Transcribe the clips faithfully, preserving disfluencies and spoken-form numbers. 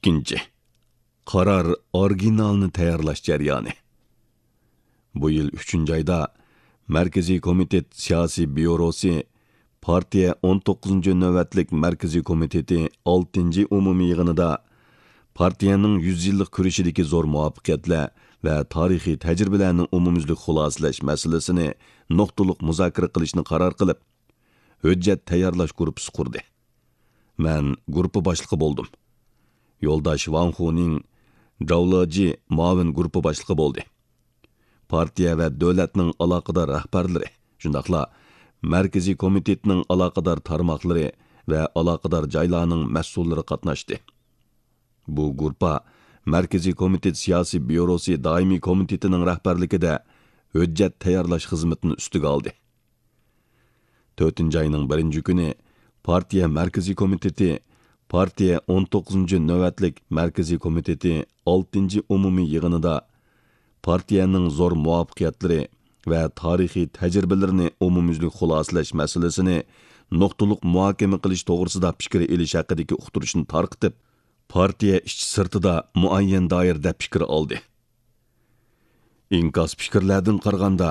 ئىككىنچى، قارار ئورىگىنالىنى تەييارلاش جەريانى. بۇ يىل ئۈچىنچى ئايدا مەركىزىي كومىتېت سىياسىي بيۇروسى پارتىيە ئون توققۇزىنچى نۆۋەتلىك مەركىزىي كومىتېتى ئالتىنچى ئومۇمىي يىغىنىدا پارتىيەنىڭ يۈز يىللىق كۈرىشىدىكى زور مۇۋەپپەقىيەتلەر ۋە تارىخىي تەجرىبىلەرنى ئومۇميۈزلۈك خۇلاسىلەش مەسىلىسىنى نۇقتىلىق مۇزاكىرە قىلىشنى قارار قىلىپ، ھۆججەت تەييارلاش گۇرۇپپىسى قۇردى. مەن گۇرۇپپا باشلىقى بولدۇم. يولداش ۋاڭ خۇنىڭ، جاۋ لېجى مۇئاۋىن گۇرۇپپا باشلىقى بولدى. پارتىيە ۋە دۆلەتنىڭ ئالاقىدار رەھبەرلىرى، شۇنداقلا مەركىزىي كومىتېتنىڭ ئالاقىدار تارماقلىرى ۋە ئالاقىدار جايلارنىڭ مەسئۇللىرى قاتناشتى. بۇ گۇرۇپپا مەركىزىي كومىتېت سىياسىي بيۇروسى دائىمىي كومىتېتىنىڭ رەھبەرلىكىدە ھۆججەت تەييارلاش خىزمىتىنى ئۈستىگە ئالدى. تۆتىنچى ئاينىڭ بىرىنچى كۈنى پارتىيە مەركىزىي كومىتېتى، پارتىيە ئون توققۇزىنچى نۆۋەتلىك مەركىزىي كومىتېتى ئالتىنچى ئومۇمىي يىغىنىدا پارتىيەنىڭ زور مۇۋەپپەقىيەتلىرى ۋە تارىخىي تەجرىبىلىرىنى ئومۇميۈزلۈك خۇلاسىلەش مەسىلىسىنى نۇقتىلىق مۇھاكىمە قىلىش توغرىسىدا پىكىر ئېلىش ھەققىدىكى ئۇقتۇرۇشنى تارقىتىپ، پارتىيە ئىچى سىرتىدا مۇئەييەن دائىرىدە پىكىر ئالدى. ئىنكاس پىكىرلەردىن قارىغاندا،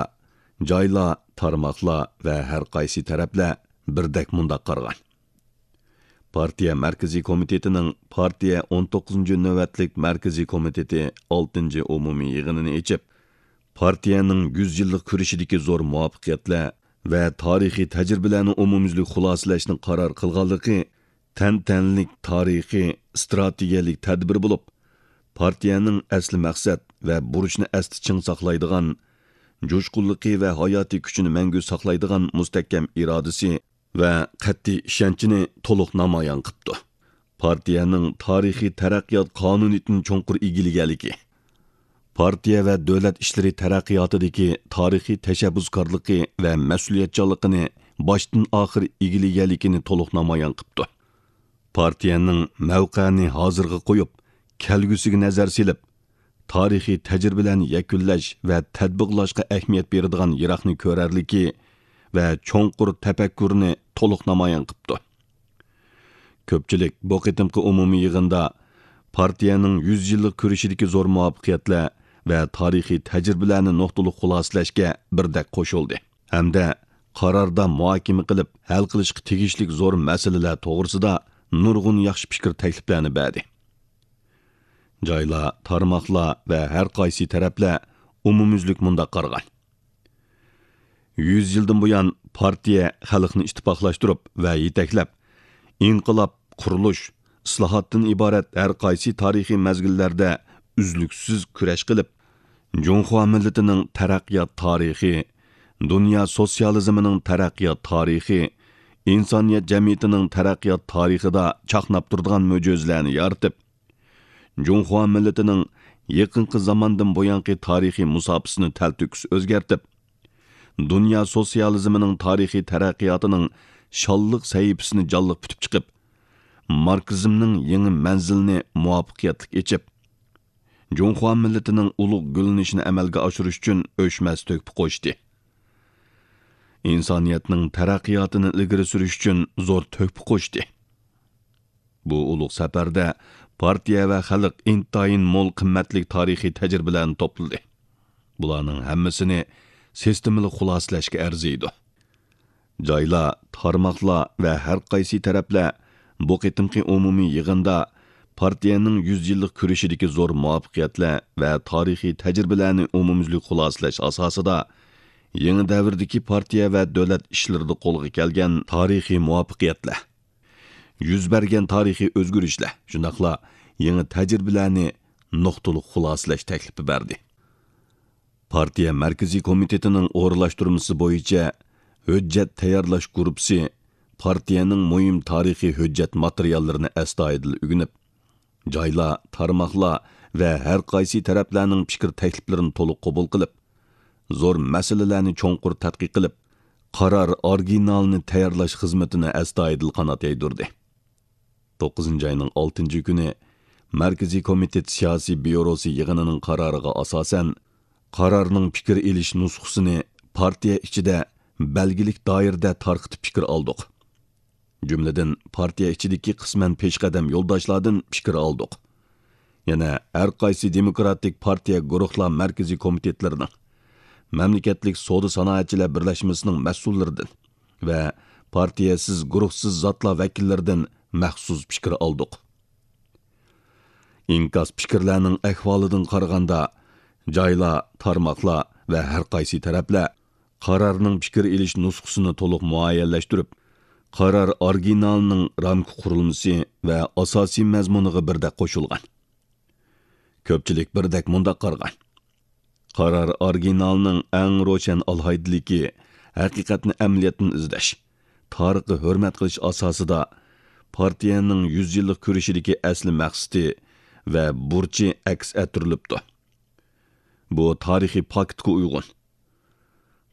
جايلار، تارماقلار ۋە ھەر قايسى تەرەپلەر بىردەك مۇنداق قارىغان. پارتىيە مەركىزىي كومىتېتىنىڭ پارتىيە ئون توققۇزىنچى نۆۋەتلىك مەركىزىي كومىتېتى ئالتىنچى ئومۇمىي يىغىنىنى ئېچىپ، پارتىيەنىڭ يۈز يىللىق كۈرىشىدىكى زور مۇۋەپپەقىيەتلەر ۋە تارىخىي تەجرىبىلەرنى ئومۇميۈزلۈك خۇلاسىلەشنى قارار قىلغانلىقى تەنتەنىلىك تارىخىي، ئىستراتېگىيەلىك تەدبىر بولۇپ، پارتىيەنىڭ ئەسلى مەقسەت ۋە بۇرچنى ئەستە چىڭ ساقلايدىغان، جۇشقۇنلۇقى ۋە ھاياتىي كۈچىنى مەڭگۈ ساقلايدىغان مۇستەھكەم ئىرادىسى ۋە قەتئىي ئىشەنچىنى تولۇق نامايان قىپتۇ. پارتىيەنىڭ تارىخىي تەرەققىيات قانۇنىيىتىنى چوڭقۇر ئىگىلىگەنلىكى، پارتىيە ۋە دۆلەت ئىشلىرى تەرەققىياتىدىكى تارىخىي تەشەببۇسكارلىقى ۋە مەسئۇلىيەتچانلىقىنى باشتىن ئاخىر ئىگىلىگەنلىكىنى تولۇق نامايان قىپتۇ. پارتىيەنىڭ مەۋقەنى ھازىرغا قويۇپ، كەلگۈسىگە نەزەر سېلىپ، تارىخىي تەجرىبىلەرنى يەكۈنلەش ۋە تەتبىقلاشقا ئەھمىيەت بېرىدىغان يىراقنى كۆرەرلىكى ۋە چوڭقۇر تەپەككۇرنى تولۇق نامايان قىپتۇ. كۆپچىلىك بۇ قېتىمقى ئومۇمىي يىغىندا پارتىيەنىڭ يۈز يىللىق كۈرىشىدىكى زور مۇۋەپپەقىيەتلەر ۋە تارىخىي تەجرىبىلەرنى نۇقتىلىق خۇلاسىلەشكە بىردەك قوشۇلدى ھەمدە قاراردا مۇھاكىمە قىلىپ ھەل قىلىشقا تېگىشلىك زور مەسىلىلەر توغرىسىدا نۇرغۇن ياخشى پىكىر تەكلىپلەرنى بەردى. جايلار، تارماقلار ۋە ھەر قايسى تەرەپلەر ئومۇميۈزلۈك مۇنداق قارىغان. يۈز يىلدىن بۇيان پارتىيە خەلقنى ئىتتىپاقلاشتۇرۇپ ۋە يېتەكلەپ، ئىنقىلاب، قۇرۇلۇش، ئىسلاھاتتىن ئىبارەت ھەر قايسى تارىخىي مەزگىللەردە ئۈزلۈكسىز كۈرەش قىلىپ، جۇڭخۇا مىللىتىنىڭ تەرەققىيات تارىخى، دۇنيا سوتسىيالىزمىنىڭ تەرەققىيات تارىخى، ئىنسانىيەت جەمئىيىتىنىڭ تەرەققىيات تارىخىدا چاقناپ تۇرىدىغان مۆجىزىلەرنى يارىتىپ، جۇڭخۇا مىللىتىنىڭ يېقىنقى زاماندىن بۇيانقى تارىخىي مۇساپىسىنى تەلتۆكۈس ئۆزگەرتىپ، دۇنيا سوتسىيالىزمىنىڭ تارىخىي تەرەققىياتىنىڭ شانلىق سەھىپىسىنى جانلىق پۈتۈپ چىقىپ، ماركسىزمنىڭ يېڭى مەنزىلىنى مۇۋەپپەقىيەتلىك ئېچىپ، جۇڭخۇا مىللىتىنىڭ ئۇلۇغ گۈللىنىشىنى ئەمەلگە ئاشۇرۇش ئۈچۈن ئۆچمەس تۆھپە قوشتى. ئىنسانىيەتنىڭ تەرەققىياتىنى ئىلگىرى سۈرۈش ئۈچۈن زور تۆھپە قوشتى. بۇ ئۇلۇغ سەپەردە پارتىيە ۋە خەلق ئىنتايىن مول قىممەتلىك تارىخىي تەجرىبىلەرنى توپلىدى. بۇلارنىڭ ھەممىسىنى سىستېمىلىق خۇلاسىلەشكە ئەرزىيدۇ. جايلار، تارماقلار ۋە ھەر قايسى تەرەپلەر بۇ قېتىمقى ئومۇمىي يىغىندا پارتىيەنىڭ يۈز يىللىق كۈرىشىدىكى زور مۇۋەپپەقىيەتلەر ۋە تارىخىي تەجرىبىلەرنى ئومۇميۈزلۈك خۇلاسىلەش ئاساسىدا، يېڭى دەۋردىكى پارتىيە ۋە دۆلەت ئىشلىرىدا قولغا كەلگەن تارىخىي مۇۋەپپەقىيەتلەر، يۈز بەرگەن تارىخىي ئۆزگىرىشلەر، شۇنداقلا يېڭى تەجرىبىلەرنى نۇقتىلىق خۇلاسىلەش تەكلىپى بەردى. پارتىيە مەركىزىي كومىتېتىنىڭ ئورۇنلاشتۇرمىسى بويىچە ھۆججەت تەييارلاش گۇرۇپپىسى پارتىيەنىڭ مۇھىم تارىخىي ھۆججەت ماتېرىياللىرىنى ئەستايىدىل ئۆگىنىپ، جايلار، تارماقلار ۋە ھەر قايسى تەرەپلەرنىڭ پىكىر تەكلىپلىرىنى تولۇق قوبۇل قىلىپ، زور مەسىلىلەرنى چوڭقۇر تەتقىق قىلىپ، قارار ئورىگىنالىنى تەييارلاش خىزمىتىنى ئەستايىدىل قانات يايدۇردى. توققۇزىنچى ئاينىڭ ئالتىنچى كۈنى مەركىزىي كومىتېت سىياسىي بيۇروسى يىغىنىنىڭ قارارىغا ئاساسەن، قارارنىڭ پىكىر ئېلىش نۇسخىسىنى پارتىيە ئىچىدە بەلگىلىك دائىرىدە تارقىتىپ پىكىر ئالدۇق. جۈملىدىن، پارتىيە ئىچىدىكى قىسمەن پېشقەدەم يولداشلاردىن پىكىر ئالدۇق. يەنە ھەر قايسى دېموكراتىك پارتىيە گۇرۇھلار مەركىزىي كومىتېتلىرىنىڭ، مەملىكەتلىك سودا سانائەتچىلەر بىرلەشمىسىنىڭ مەسئۇللىرىدىن ۋە پارتىيەسىز گۇرۇھسىز زاتلار ۋەكىللىرىدىن مەخسۇس پىكىر ئالدۇق. ئىنكاس پىكىرلەرنىڭ ئەھۋالىدىن قارىغاندا، جايلار، تارماقلار ۋە ھەر قايسى تەرەپلەر قارارنىڭ پىكىر ئېلىش نۇسخىسىنى تولۇق مۇئەييەنلەشتۈرۈپ، قارار ئورىگىنالىنىڭ رامكا قۇرۇلمىسى ۋە ئاساسىي مەزمۇنىغا بىردەك قوشۇلغان. كۆپچىلىك بىردەك مۇنداق قارىغان: قارار ئورىگىنالىنىڭ ئەڭ روشەن ئالاھىدىلىكى ھەقىقەتنى ئەمەلىيەتتىن ئىزدەش، تارىخقا ھۆرمەت قىلىش ئاساسىدا پارتىيەنىڭ يۈز يىللىق كۈرىشىدىكى ئەسلى مەقسىتى ۋە بۇرچى ئەكس ئەتتۈرۈلۈپتۇ. بۇ تارىخىي پاكىتقا ئۇيغۇن.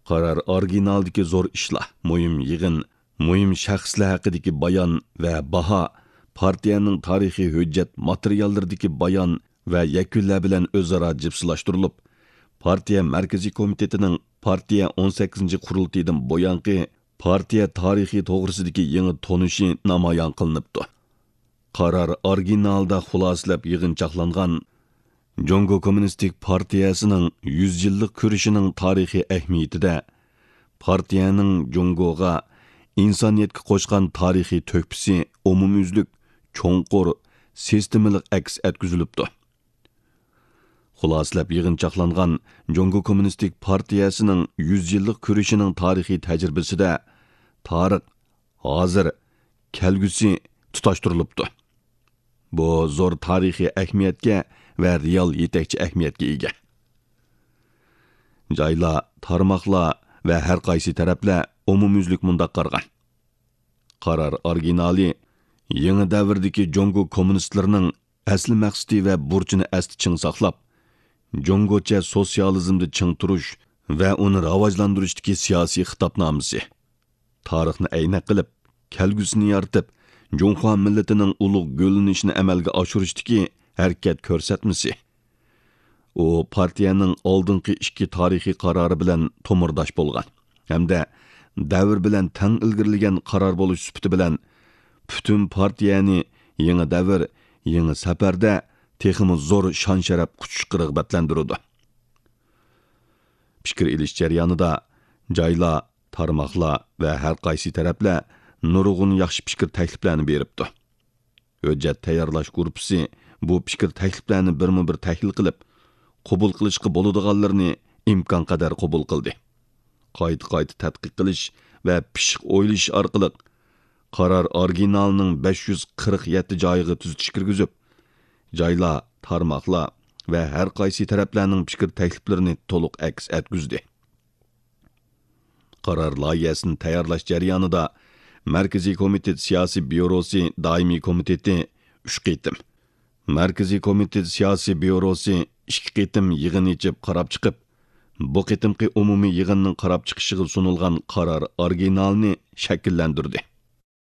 قارار ئورىگىنالدىكى زور ئىشلار، مۇھىم يىغىن، مۇھىم شەخسلەر ھەققىدىكى بايان ۋە باھا، پارتىيەنىڭ تارىخىي ھۆججەت ماتېرىياللىرىدىكى بايان ۋە يەكۈنلەر بىلەن ئۆزئارا جىپسىلاشتۇرۇلۇپ، پارتىيە مەركىزىي كومىتېتىنىڭ پارتىيە ئون سەككىزىنچى قۇرۇلتىيىدىن بۇيانقى پارتىيە تارىخى توغرىسىدىكى يېڭى تونۇشى نامايان قىلىنىپتۇ. قارار ئورىگىنالدا خۇلاسىلەپ يىغىنچاقلانغان جۇڭگو كوممۇنىستىك پارتىيەسىنىڭ يۈز يىللىق كۈرىشىنىڭ تارىخىي ئەھمىيىتىدە پارتىيەنىڭ جۇڭگوغا، ئىنسانىيەتكە قوشقان تارىخىي تۆھپىسى ئومۇميۈزلۈك، چوڭقۇر، سىستېمىلىق ئەكس ئەتكۈزۈلۈپتۇ. خۇلاسىلەپ يىغىنچاقلانغان جۇڭگو كوممۇنىستىك پارتىيەسىنىڭ يۈز يىللىق كۈرىشىنىڭ تارىخىي تەجرىبىسىدە تارىخ، ھازىر، كەلگۈسى تۇتاشتۇرۇلۇپتۇ. بۇ زور تارىخىي ئەھمىيەتكە ۋە رېئال يېتەكچى ئەھمىيەتكە ئىگە. جايلار، تارماقلار ۋە ھەر قايسى تەرەپلەر ئومۇميۈزلۈك مۇنداق قارىغان: قارار ئورىگىنالى يېڭى دەۋردىكى جۇڭگو كوممۇنىستلىرىنىڭ ئەسلى مەقسىتى ۋە بۇرچىنى ئەستە چىڭ ساقلاپ، جۇڭگوچە سوتسىيالىزمدا چىڭ تۇرۇش ۋە ئۇنى راۋاجلاندۇرۇشتىكى سىياسىي خىتابنامىسى، تارىخنى ئەينەك قىلىپ، كەلگۈسىنى يارىتىپ، جۇڭخۇا مىللىتىنىڭ ئۇلۇغ گۈللىنىشىنى ئەمەلگە ئاشۇرۇشتىكى ھەرىكەت كۆرسەتمىسى. ئۇ پارتىيەنىڭ ئالدىنقى ئىككى تارىخىي قارارى بىلەن تومۇرداش بولغان ھەمدە دەۋر بىلەن تەڭ ئىلگىرىلىگەن قارار بولۇش سۈپىتى بىلەن پۈتۈن پارتىيەنى يېڭى دەۋر، يېڭى سەپەردە تېخىمۇ زور شان-شەرەپ قۇچۇشقا رىغبەتلەندۈرىدۇ. پىكىر ئېلىش جەريانىدا جايلار، تارماقلار ۋە ھەر قايسى تەرەپلەر نۇرغۇن ياخشى پىكىر تەكلىپلەرنى بېرىپتۇ. ھۆججەت تەييارلاش گۇرۇپپىسى بۇ پىكىر تەكلىپلەرنى بىرمۇ بىر تەھلىل قىلىپ، قوبۇل قىلىشقا بولىدىغانلىرىنى ئىمكانقەدەر قوبۇل قىلدى. قايتا-قايتا تەتقىق قىلىش ۋە پىششىق ئويلىشىش ئارقىلىق، قارار ئورىگىنالىنىڭ بەش يۈز قىرىق يەتتە جايىغا تۈزىتىش كىرگۈزۈپ، جايلار، تارماقلار ۋە ھەر قايسى تەرەپلەرنىڭ پىكىر تەكلىپلىرىنى تولۇق ئەكس ئەتكۈزدى. قارار لايىھەسىنى تەييارلاش جەريانىدا مەركىزىي كومىتېت سىياسىي بيۇروسى دائىمىي كومىتېتى ئۈچ قېتىم، مەركىزىي كومىتېت سىياسىي بيۇروسى ئىككى قېتىم يىغىن ئېچىپ قاراپ چىقىپ، بۇ قېتىمقى ئومۇمىي يىغىننىڭ قاراپ چىقىشىغا سۇنۇلغان قارار ئورىگىنالىنى شەكىللەندۈردى.